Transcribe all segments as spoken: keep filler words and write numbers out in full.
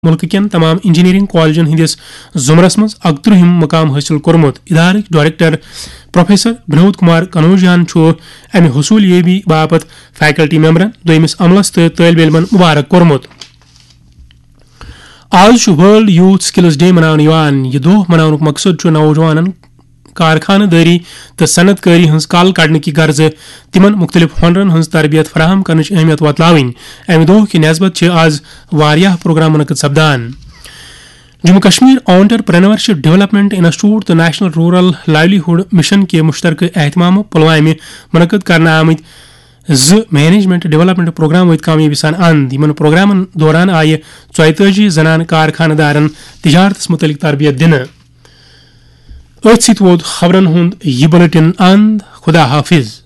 مُلکہٕ کٮ۪ن تمام انجینئرنگ کالجن ہٕنٛدِس زمرس منٛز اکترٛہِم مقام حٲصِل کوٚرمُت۔ ادارٕکۍ ڈائریکٹر پروفیسر بنود کمار کنوجیان چھُ امہِ حصوٗل یٲبی باپتھ فیکلٹی ممبرن، دوٚیمِس عملس تہٕ طٲلبہِ علمن مبارک کوٚرمُت۔ آز چھُ ورلڈ یوتھ سکلز ڈے مناونہٕ یِوان۔ یہِ دۄہ مناونُک مقصد چھُ نوجوانن کارخانہٕ دٲری تہٕ صنعت کٲری ہٕنٛز کل کڑنہٕ کہِ غرضہٕ تِمن مُختٔلِف ہۄنرن ہٕنٛز تربیت فراہم کرنٕچ اہمیت وۄتلاوٕنۍ۔ امہِ دۄہ کہِ نسبت چھِ آز واریاہ پروگرام منعقد سپدان۔ Jammu Kashmir entrepreneurship development institute تہٕ نیشنل رورل لائیولی ہُڈ مشن کہِ مشترکہ اہتمامہٕ پلوامہِ منعقد کرنہٕ آمٕتۍ زٕ مینجمنٹ ڈیولپمنٹ پروگرام وٲتۍ کامیٲبی سان اند۔ یِمن پروگرامن دوران آیہِ ژۄیتٲجی زنانہٕ کارخانہٕ دارن تجارتس متعلق تربیت دِنہٕ۔ أتھۍ سۭتۍ ووت خبرن ہُنٛد یہِ بُلٹن اند۔ خدا حافظ۔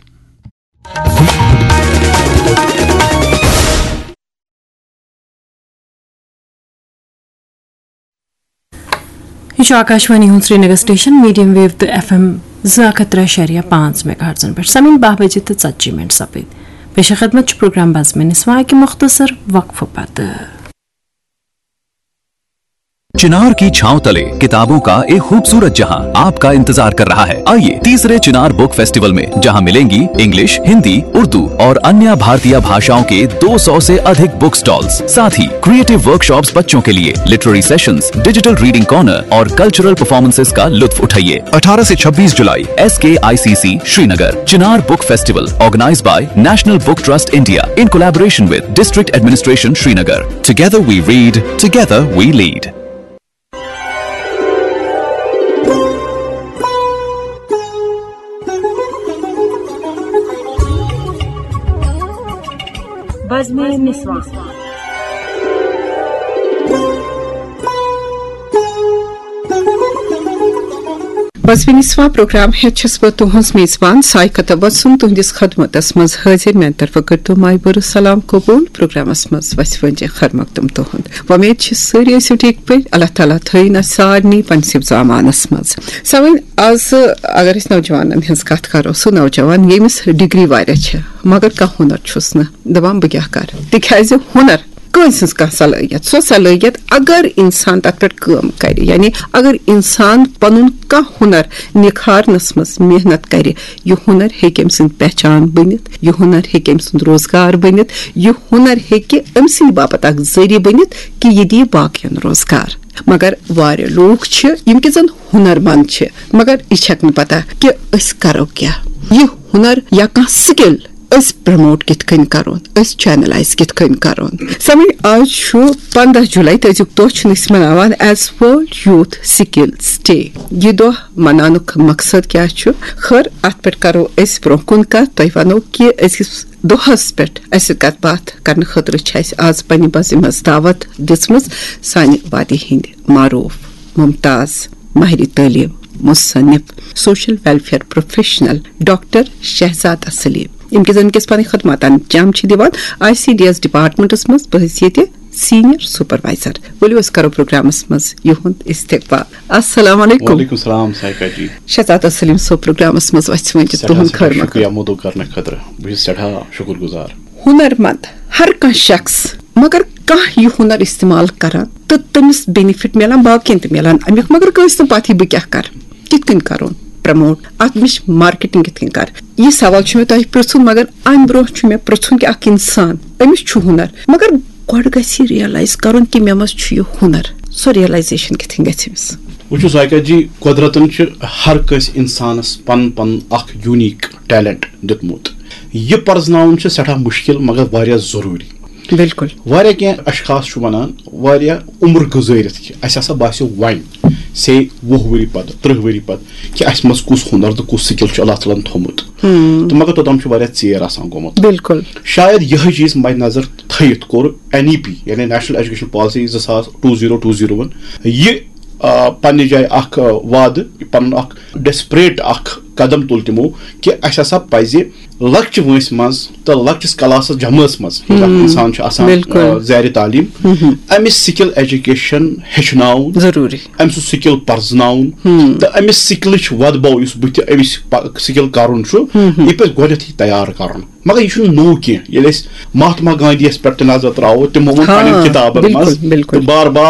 یہِ چھُ آکاشوانی ہُنٛد سرینگر سٹیشن، میڈیم ویو تہٕ ایف ایم زٕ ہتھ ترٛےٚ شیٚریا پانٛژھ میگا ہرٹزن پٮ۪ٹھ۔ سمعین، باہ بجے تہٕ ژتجی منٹ سپٕدۍ۔ پیش خدمت چھُ پروگرام بزمِ نسواں کہِ مختصر وقفہٕ پتہٕ۔ چنار کی چھاؤں تلے، کتابوں کا ایک خوبصورت جہاں آپ کا انتظار کر رہا ہے۔ آئیے، तीसरे चिनार बुक फेस्टिवल में, जहां मिलेंगी इंग्लिश, हिंदी, उर्दू और अन्य भारतीय भाषाओं के दो सौ से अधिक बुक स्टॉल्स, साथ ही क्रिएटिव वर्कशॉप्स बच्चों के लिए, literary sessions, digital reading corner और कल्चरल परफॉर्मेंसेस का लुत्फ उठाइए। अठारह से छब्बीस जुलाई, S K I C C Srinagar. Chinar book festival, organised by national book trust India, in collaboration with District Administration Srinagar. Together we read, together we lead. بزمِ نسواں۔ بزمِ نسواں پروگرام ہیتھ چھس بہٕ تُہنٛز میزبان سائقہ تبسم تُہنٛدِس خدمتس منٛز حٲضِر۔ میانہِ طرفہٕ کٔرتو مایہِ بٔرٕ سلام قبول۔ پروگرامس منٛز وژھِ وٲنجہِ خیر مقدم تُہنٛد۔ وۄمید چھِ سٲری ٲسِو ٹھیٖک پٲٹھۍ۔ اللہ تعالیٰ تھٲیِن اَسہِ سارنٕے پننِس حفظ امانس منٛز۔ سمعین، آز اگر أسۍ نوجوانن ہٕنٛز کتھ کرو، سُہ نوجوان ییٚمِس ڈگری واریاہ چھِ، مگر کانٛہہ ہُنر چھُس نہٕ، دپان بہٕ کیٛاہ کرٕ؟ تِکیٛازِ ہُنر کٲنٛسہِ ہٕنٛز کانٛہہ صلٲحیت، سۄ صلٲحیت اگر انسان تتھ پٮ۪ٹھ کٲم کرِ، یعنی اگر انسان پنُن کانٛہہ ہُنر نکھارنس منٛز محنت کرِ، یہِ ہُنر ہیٚکہِ أمۍ سٕنٛز پہچان بٔنِتھ، یہِ ہُنر ہیٚکہِ أمۍ سُنٛد روزگار بٔنِتھ، یہِ ہُنر ہیٚکہِ أمۍ سٕنٛدِ باپتھ اکھ ذٔریعہٕ بٔنِتھ کہِ یہِ دِیہِ باقین روزگار۔ مگر واریاہ لوٗکھ چھِ، یِم کہِ زن ہُنر مند چھِ، مگر یہِ چھکھ نہٕ پتہ کہِ أسۍ کرو کیٛاہ۔ یہِ ہُنر یا کانٛہہ سکل أسۍ پروموٹ کِتھ کٔنۍ کرون، أسۍ چینلائز کِتھ کٔنۍ کرون۔ سمجھ، آز چھُ پنٛداہ جولائی، تہٕ أزیُک دۄہ چھُنہٕ أسۍ مناوان as World Youth Skills Day۔ یہِ دۄہ مناونُک مقصد کیٛاہ چھُ؟ خٲر، اتھ پٮ۪ٹھ کرو أسۍ برونٛہہ کُن کتھ۔ تۄہہِ ونو کہِ أزکِس دۄہس پٮ۪ٹھ اسہِ کتھ باتھ کرنہٕ خٲطرٕ چھِ اسہِ آز پننہِ بزِ منٛز دعوت دِژمٕژ سانہِ وادی ہٕنٛدۍ معروف، ممتاز، ماہرِ تعلیٖم، مصنف، social welfare professional doctor Shahzad Saleem, یِم کہِ زن کِس پنٕنۍ خدماتن جم چھِ دِوان آئی سی ڈی ایس ڈپارٹمنٹس منٛز بحیثیت سینئر سپروائزر۔ ؤلِو أسۍ کرو پروگرامس منٛز یِہُنٛد استقبال۔ السلام علیکم۔ وعلیکم السلام سائقہ جی۔ شہزاد سلیم صٲب، پروگرامس منٛز وژھِ وٲنجہِ سٮ۪ٹھاہ تُہُنٛد سٮ۪ٹھاہ خٲر مقدم۔ شُکریہ مدعو کرنہٕ خٲطرٕ۔ بہٕ چھُس سٮ۪ٹھاہ شُکر گُزار۔ ہُنر مند ہر کانٛہہ شخص، مگر کانٛہہ یہِ ہُنر استعمال کران تہٕ تٔمِس بینیفٹ میلان، باقین تہِ میلان امیُک، مگر کٲنٛسہِ نہٕ پتہٕے بہٕ کیٛاہ کرٕ، کِتھ کٔنۍ کرون پروموٹ، اتھ مےٚ چھِ مارکیٹنگ کِتھ کٔنۍ کرٕ۔ یہِ سوال چھُ مےٚ تۄہہِ پرژھُن، مگر امہِ برونٛہہ چھُ مےٚ پرژھُن کہِ اکھ انسان، أمِس چھُ ہُنر، مگر گۄڈٕ گژھِ یہِ ریئلائز کرُن کہِ مےٚ منٛز چھُ یہِ ہُنر، سۄ ریئلائزیشن کِتھ کٔنۍ گژھِ أمِس؟ وٕچھِو سائقہ جی، قۄدرتن چھُ ہر کٲنٛسہِ انسانس پنُن پنُن اکھ یونیک ٹیلنٹ دیُتمُت۔ یہِ پرزناوُن چھُ سٮ۪ٹھاہ مُشکِل مگر واریاہ ضروٗری۔ بِلکُل۔ واریاہ کینٛہہ اشخاص چھُ ونان، واریاہ عمر گُزٲرِتھ کہِ اسہِ ہسا باسیو وۄنۍ، سے وُہ ؤری پتہٕ، تٕرٛہ ؤری پتہٕ، کہِ اسہِ منٛز کُس ہُنر تہٕ کُس سکل چھُ اللہ تعالیٰ ہن تھوٚمُت۔ ہُم۔ تہٕ مگر توٚتام چھُ واریاہ ژیر آسان گوٚمُت۔ بِلکُل۔ شاید یِہوٚے چیٖز مدِ نظر تھٲیِتھ کوٚر این ای پی، یعنی نیشنل ایجوکیشن پالیسی زٕ ساس ٹوٗ زیٖرو ٹوٗ زیٖروَن یہِ، آ، پننہِ جایہِ اکھ، آ، وعدٕ، پنُن اکھ ڈیسپریٹ اکھ قدم تُل تِمو کہِ اسہِ ہسا پزِ لۄکچہِ وٲنٛسہِ منٛز تہٕ لۄکٹِس کلاسس جمٲژ منٛز، ییٚلہِ اکھ ہُم، انسان چھُ آسان، بِلکُل۔ آ، زیرِ تعلیٖم، ہُم، ہُم۔ أمِس سکل ایجوکیشن ہیٚچھناوُن، ضروٗری۔ أمۍ سُنٛد سکل پرزناوُن، ہُم۔ تہٕ أمِس سکلٕچ وۄدبو یُس بٕتھِ أمِس پ-، سکل کرُن چھُ، ہُم، ہُم۔ یہِ پزِ گۄڈنیتھٕے تیار کرُن۔ مگر یہِ چھُنہٕ نوٚو کینٛہہ۔ ییٚلہِ أسۍ مہاتما گاندھی یس پٮ۪ٹھ تہِ نظر تراوو، تِمو ووٚن ہاں، پننٮ۪ن کِتابن بِلکُل، منٛز بِلکُل۔ تہٕ بار بار